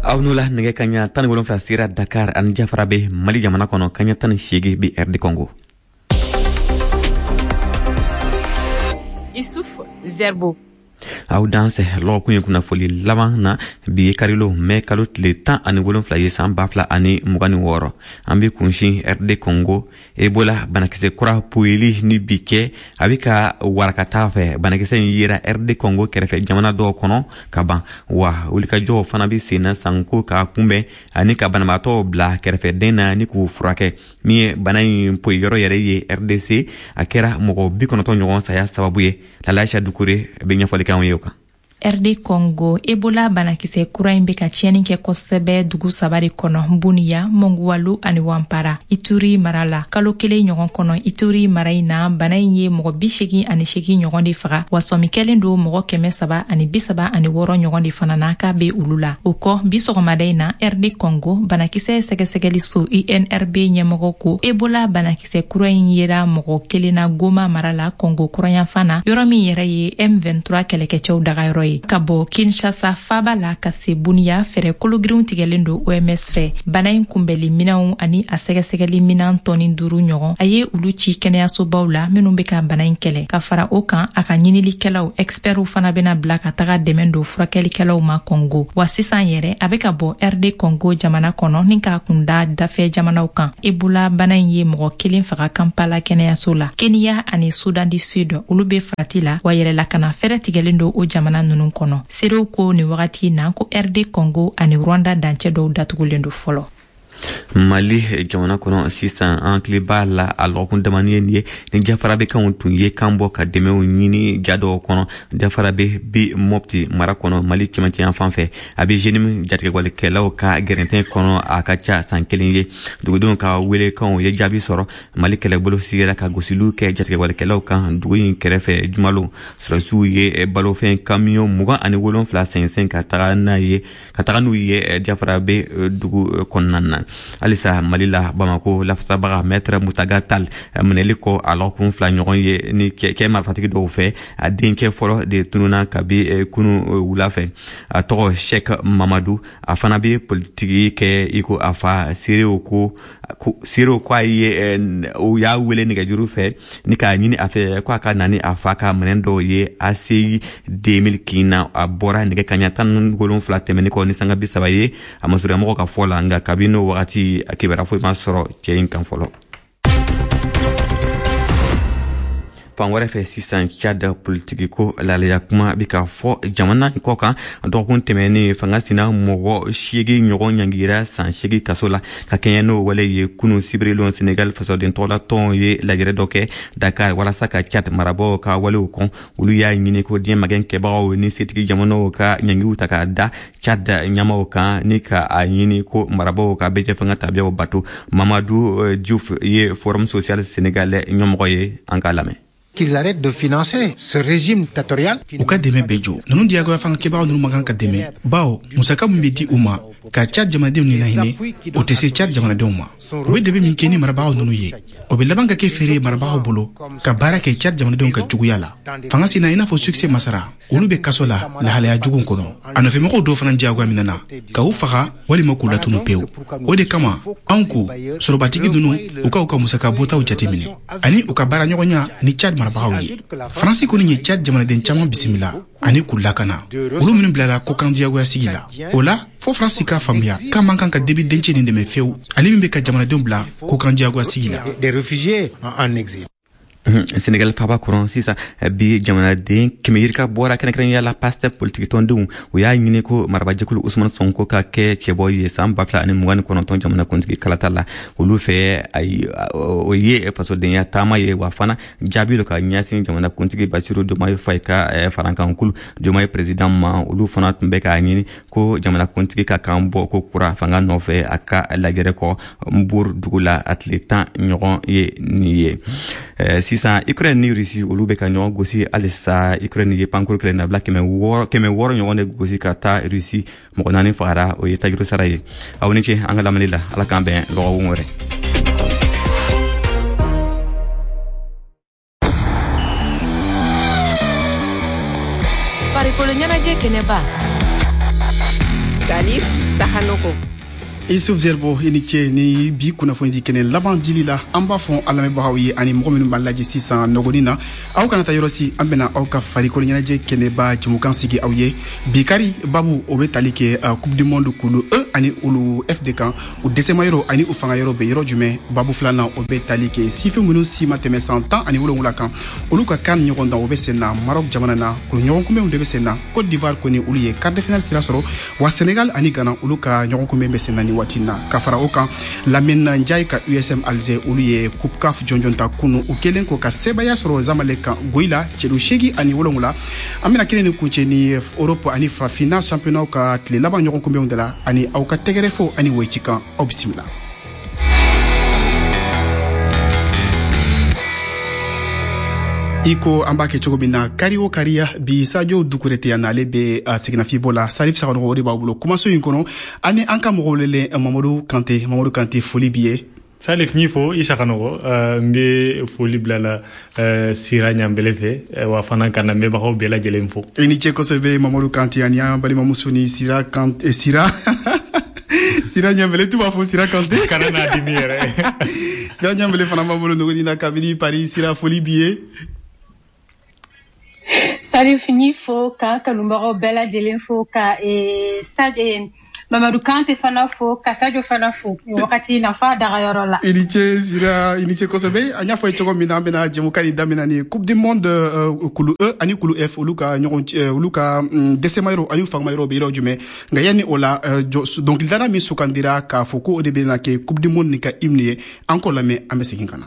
Aw n'o la, nɛgɛ kaɲa 17 sera Dakar ani Jafarabe, Mali jamana kɔnɔ. Kaɲa 18 bi RD Congo. Issouf Zerbo. Aw dansɛ. Lɔgɔkun ye kunnafoli laban na, bi ye karilon, mɛ kalo tile 17 ye, san 2026. An be kunsin RD Congo. Ebola banakisɛ kura poyili ni bi kɛ, a be ka warakata fɛ. Banakisɛ in yera RD Congo kɛrɛfɛ jamana dɔw kɔnɔ ka ban, wa wulikajɔw fana be senna sanko k'a kunbɛn ani ka banabaatɔw bila kɛrɛfɛden na ni k'u furakɛ. Min ye bana in poyi yɔrɔ yɛrɛ ye RDC, a kɛra mɔgɔ 90 ɲɔgɔn saya sababu ye. Lalaisa Dukure bɛ ɲɛfɔli k'anw ye o kan. RD Congo, Ebola banakisɛ kura in bɛ ka tiɲɛni kɛ kosɛbɛ dugu saba de kɔnɔ: Buniya, Monguwalu ani Wampara, Ituri mara la. Kalo kelen ɲɔgɔn kɔnɔ, Ituri mara in na, bana in ye mɔgɔ 88 ɲɔgɔn de faga, wa sɔmi kɛlen don mɔgɔ 336 ɲɔgɔn de fana na k'a be olu la. O kɔ, bi sɔgɔmada in na, RD Congo banakisɛ sɛgɛsɛgɛli so INRB ɲɛmɔgɔ ko Ebola banakisɛ kura in yera mɔgɔ kelen na Goma mara la, Congo kɔrɔnyanfan na, yɔrɔ min yɛrɛ ye M23 kɛlɛkɛcɛw dagayɔrɔ ye. Ka bɔ Kinshasa faba la ka se Buniya, fɛɛrɛ kologirinw tigɛlen don OMS fɛ. Bana in kunbɛli minɛnw ani a sɛgɛsɛgɛli minan tɔni 5 ɲɔgɔn, a ye olu ci kɛnɛyasobaw la minnu bɛ ka bana in kɛlɛ. Ka fara o kan, a ka ɲinilikɛlaw, expertw fana bɛna bila ka taga dɛmɛ don furakɛlikɛlaw ma Congo. Wa sisan yɛrɛ, a bɛ ka bɔ RD Congo jamana kɔnɔ ni k'a kunda dafɛ jamanaw kan. Ebola bana in ye mɔgɔ kelen faga Kampala kɛnɛyaso la. Kenya ani Soudan du Sud, olu bɛ farati la, wa yɛrɛlakana fɛɛrɛ tigɛlen don o jamana ninnu kɔnɔ. Seerew ko nin wagati na ko RD Congo ani Rwanda dancɛ dɔw datugulen don fɔlɔ. Mali jamana kɔnɔ sisan, an hakili b'a la, a lɔgɔkun damani ye nin ye ni Jafarabekanw tun ye kan bɔ ka dɛmɛw ɲini ja dɔw kɔnɔ. Jafarabe bi Mɔpti mara kɔnɔ, Mali cɛmancɛ fan fɛ. A bɛ JNIM jatigɛwalikɛlaw ka gɛrɛntɛn kɔnɔ, a ka ca san kelen ye. Dugudenw ka welekanw ye jaabi sɔrɔ. Mali kɛlɛbolo sigira ka gosiliw kɛ jatigɛwalikɛlaw kan dugu in kɛrɛfɛ jumalon. Sɔrɔsiw ye balofɛn kamiyɔn 27 sɛnsɛn ka taga n'a ye, ka taga n'u ye Jafarabe dugu kɔnɔna na. Halisa Mali la, Bamako lafasabaga Maître Mutaga Tal minɛli kɔ a lɔgɔkun 2 ɲɔgɔn ye ni kɛ marifatigi dɔw fɛ, a denkɛ fɔlɔ de tununa kabi kunu wula fɛ. A tɔgɔ Sheikh Mamadu, a fana bɛ politiki kɛ i ko a fa. Seerew ko a ye o y'a wele nɛgɛjuru fɛ ni k'a ɲini a fɛ ko a ka na ni a fa ka minɛn dɔw ye ACI 2000 kin na. A bɔra nɛgɛ kaɲa 17 tɛmɛni kɔ ni sanga 30 ye, a masurunyamɔgɔ ka fɔ la. Nka kabi n'o wagati, a kibaruya foyi ma sɔrɔ cɛ in kan fɔlɔ. Fan wɛrɛ fɛ sisan, Chad politiki ko lalaya kuma bi ka fɔ jamana kɔ kan. Dɔgɔkun tɛmɛnen, fanga sina mɔgɔ 8 ɲɔgɔn ɲangira san 8 kaso la ka kɛɲɛ n'o wale ye. Kunu sibirilon, Senegal fasoden tɔgɔlatɔn ye lajɛrɛ dɔ kɛ Dakar walasa ka Chad marabaaw ka walew kɔn. Olu y'a ɲini ko diɲɛ magɛn kɛbagaw ni setigi jamanaw ka ɲangiw ta k'a da Chad ɲɛmaw kan, ni ka a ɲini ko marabaaw ka bɛɛ fanga tabiyaw bato. Mamadu Diouf ye Forum social sénégalais ɲɛmɔgɔ ye, an k'a lamɛn. Qu'ils arrêtent de financer ce régime dictatorial. U ka dɛmɛ bɛɛ jɔ. Ninnu diyagoya fanga kɛbagaw ninnu man kan ka dɛmɛ, bawo musaka min bɛ di u ma ka Cad jamanadenw ni lahinɛ, o tɛ se Cad jamanadenw ma. U bɛ dɛmɛ min kɛ ni marabagaw ninnu ye, o bɛ laban ka kɛ feere ye marabagaw bolo ka baara kɛ Cad jamanadenw ka juguya la. Fanga sina i n'a fɔ Succès Masara, olu bɛ kaso la lahalaya jugu kɔnɔ. A nɔfɛmɔgɔw dɔw fana diyagoya minɛna ka u faga walima k'u latunu pewu. O de kama anw ko sɔrɔbatigi ninnu, u ka u ka musaka bɔtaw jateminɛ ani u ka baara ɲɔgɔnya ni Cad marabagaw ye. Faransi kɔni ye Cad jamanaden caman bisimila ani k'u lakana, olu minnu bilala kokan diyagoya sigi la. O la fo Faransi k'a faamuya k'a man kan ka Déby dencɛ nin dɛmɛ fewu, ale min bɛ ka jamanadenw bila kokan diyagoya sigi la. Des réfugiés en exil. Senegal faba kɔnɔ sisan, bi jamanaden 100 yirika bɔra, kɛrɛnkɛrɛnya la Pastef politiki tɔndenw. U y'a ɲini ko marabajɛkulu Usman Sonko ka kɛ cɛbɔ ye san 2029 jamana kuntigi kalata la. Olu fɛ, ayi, o ye fasodenya taama ye, wa fana jaabi dɔ ka ɲɛsin jamana kuntigi Basiru Diomaye Faye ka farankankulu Diomaye président ma. Olu fana tun bɛ k'a ɲini ko jamana kuntigi ka kan bɔ ko kura fanga nɔfɛ a ka lajɛrɛ kɔ Mbour dugu la, a tile 10 ɲɔgɔn ye nin ye. Sisan, Ukraine ni Russie, olu bɛ ka ɲɔgɔn gosi halisa. Ukraine ye pankuru kɛlɛ nabila 600 ɲɔgɔn de gosi ka taa Russie, mɔgɔ naani fagara, o ye tajuru sara ye. Aw ni ce an ka lamɛnni la, Ala k'an bɛn lɔgɔkun wɛrɛ. Farikolo ɲɛnajɛ kɛnɛba, Salif. Sakhanoko. Isuf Zerbo, i ni ce ni bi kunnafoni di kɛnɛ laban dili la. An b'a fɔ an lamɛnbagaw ye ani mɔgɔ minnu b'an lajɛ sisan nɔgɔnin na, aw kana taa yɔrɔ si, an bɛna aw ka farikolo ɲɛnajɛ kɛnɛba jɛmukan sigi aw ye. Bi kari babu, o bɛ tali kɛ Coupe du monde kulu E ani olu F de kan, u dɛsɛma yɔrɔ ani u fanga yɔrɔ bɛ yɔrɔ jumɛn. Babu filanan, o bɛ tali kɛ sifin minnu si ma tɛmɛ san 17 kan, olu ka CAN ɲɔgɔn dan, o bɛ sen na Maroc jamana na, kulu ɲɔgɔn kunbɛnw de bɛ sen na. Côte d'Ivoire kɔni, olu ye quart de finale sira sɔrɔ, wa Sénégal ani Ghana, olu ka ɲɔgɔn kunbɛn bɛ sen na ni waati na. Ka fara o kan, Lamine Ndiaye ka USM Alger, olu ye Coupe CAF jɔnjɔn ta kunu, u kɛlen ko ka sebaya sɔrɔ Zamalek kan goyila celu 87. An bɛna kelen ni kuncɛ ni Europe ani Farafinna championnat ka tile laban ɲɔgɔn kunbɛnw de la, ani aw ka tɛgɛrɛ fo ani woyi kan. Aw bisimila. I ko an b'a kɛ cogo min na kari o kariya, bi Sadio Dukure tɛ yan na, ale bɛ seginnafibɔ la. Salif Sakhanoko, o de b'a bolo kumaso in kɔnɔ, ani an ka mɔgɔw welelen Mamadu Kante. Mamadu Kante, foli b'i ye. Salif, n'i fo i Sakhanoko. N bɛ foli bila la Sira Ɲanbele fɛ, wa fana ka lamɛnbagaw bɛɛ lajɛlen fo. I ni ce kosɛbɛ, Mamadu Kante, ani an balimamuso ni Sira Kante, Sira Ɲanbele, tu b'a fɔ Sira Kante. Kana n'a dimi yɛrɛ. Sira Ɲanbele fana b'an bolo nɔgɔni na kabini Paris. Sira, foli b'i ye. Salif, n'i fo ka kanubagaw bɛɛ lajɛlen fo, ka Mamadu Kante fana fo, ka Sadio fana fo nin wagati na f'a dagayɔrɔ la. I ni ce Sira, i ni ce kosɛbɛ. An y'a fɔ ye cogo min na, an bɛna jɛmukan nin daminɛ ni Coupe du monde kulu E ani kulu F, olu ka ɲɔgɔn, olu ka dɛsɛma yɔrɔ ani fangama yɔrɔ bɛ yɔrɔ jumɛn. Nka yanni o la, dɔnkilidala min sugandira k'a fɔ ko o de bɛna kɛ Coupe du monde nin ka hymne ye, an k'o lamɛn, an bɛ segin ka na.